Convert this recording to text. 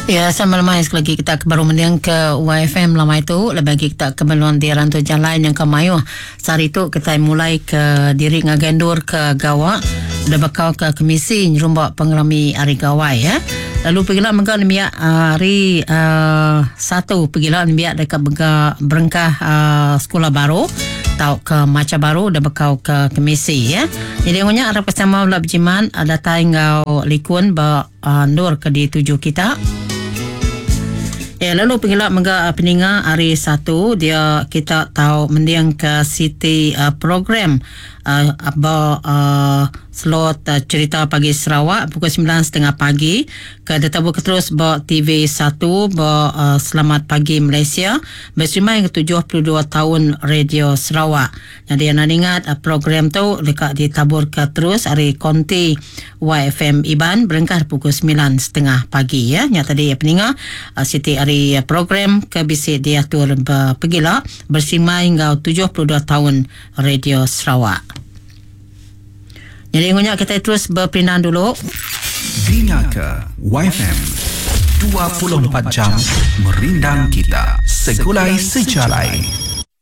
Ya, sama lemai sekali lagi kita ke baru mending ke YFM lemai tu lebih lagi kita ke meluan di rantu jalai yang ke mayuh. Sehari tu kita mulai ke diri ngagai endur ke gawa udah bekau ke kemisi nyerumba pengerami hari gawai ya. Lalu pegila mega nembiak hari uh, satu pegila nembiak deka bega berengkah uh, sekolah baru tau ke macha baru udah bekau ke kemisi ya. Jadi ngunya arap ke sama bela bejimat datai enggau likun ba endur ke dituju kita. Ya, lalu pengila mega peninga hari satu dia kita tau mending ke siti uh, program uh, ba uh, slot uh, cerita pagi Sarawak pukul 9.30 pagi ke ditabu ke terus ba TV 1 ba uh, Selamat Pagi Malaysia bersama yang ke-72 tahun Radio Sarawak. Jadi anda ingat uh, program tu deka ditabur ke terus hari konti YFM Iban berengkah pukul 9.30 pagi ya. Nya tadi ya peninga uh, siti hari program ke bisi diatur pegila bersimai enggau 72 tahun Radio Sarawak. Jadi ngunya kita terus berpindah dulu. Dinga ke YFM 24 jam merindang kita segulai sejalai.